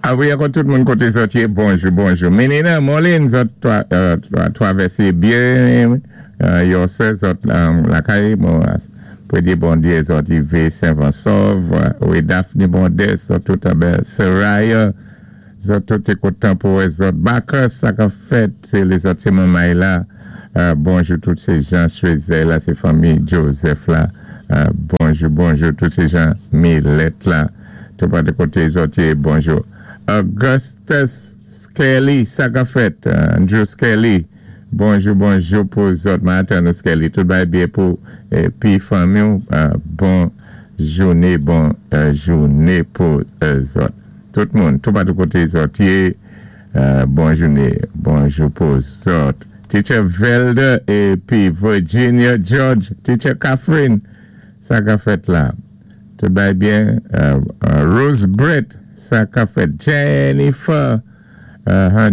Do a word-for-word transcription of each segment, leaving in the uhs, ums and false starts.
A wi, ankò tout moun koté zòt yé, bonjou, bonjou. Menina, Molin, zòt twavèsé byen, yo sé zòt lakay, pou di bondyé zòt rivé sen-sòv, wi, Daphne Bondes, zòt tout anbè, Soraya, zòt tout té kontan pou wè zòt. Bacchus, sa ka fèt, sé lézòt, sé manmay la, bonjou tout sé jan Schweitzer la, sé fanmi Joseph la, bonjou, bonjou, tout sé jan Millet la, tout pa de koté zòt yé, bonjou. Augustus Skelly, sa ka fèt, Andrew Skelly, bonjou, bonjou pou zòt, maten Skelly, tout bay byen pou pi fanmi, bon jouné, bon jouné pou zòt. Tout moun, tout pa de koté zòt yé, bon jouné, bonjou pou zòt. Teacher Velda épi Virginia George, Teacher Catherine, sa ka fèt la. Tout bay byen, Rose Brett, sa ka fèt. Jennifer,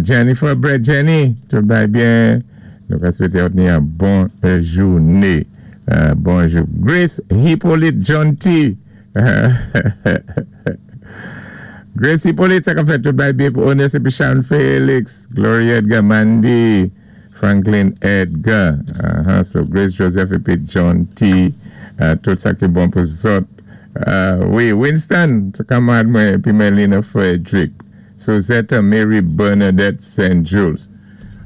Jennifer Brett, Jenny, tout bay byen. Nou ka swété ni yon bon jouné. Bonjou. Grace Hippolyte John T. Grace Hippolyte, sa ka fèt, tout bay byen pou Honest épi Sharon Felix, Gloria Edgar, Mandy, Franklin Edgar. So Grace Joseph épi John T. Tout sa ki bon pou zòt. Wi, Winston, kanmad mwen, épi Melina Frederick. Suzette Mary Bernadette Saint Jules.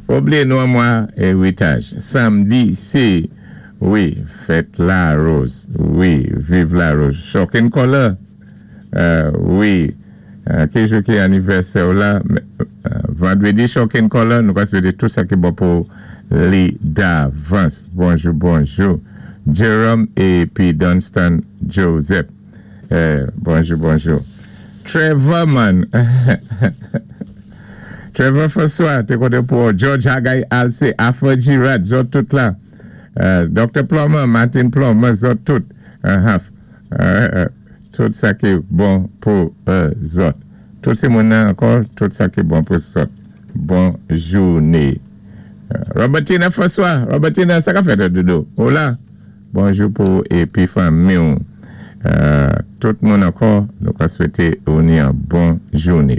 Pa blié nou mwa eritaj. Samdi, sé, wi, fèt la rose. Wi, viv la rose. Shocking color. Wi, ki jou ki anivèsè la, vandrédi shocking color, nou ka swété tout sa ki bon pou li davans. Bonjou, bonjou. Jerome épi Dunstan Joseph. Bonjou, bonjou. Trevor man. Trevor François, té koté pou George Hagay Alce, Afro Girard, zòt tout la. Doctor Plummer, Martin Plummer, zòt tout. Tout sa ki bon pou zòt. Tout sé moun ankò, tout sa ki bon pou zòt. Bon jouné. Robertina François, Robertina, sa ka fèt doudou? Hola. Bonjou pou épi fanmi. Tout moun ankò, nou ka swété ou ni yon bon jouné.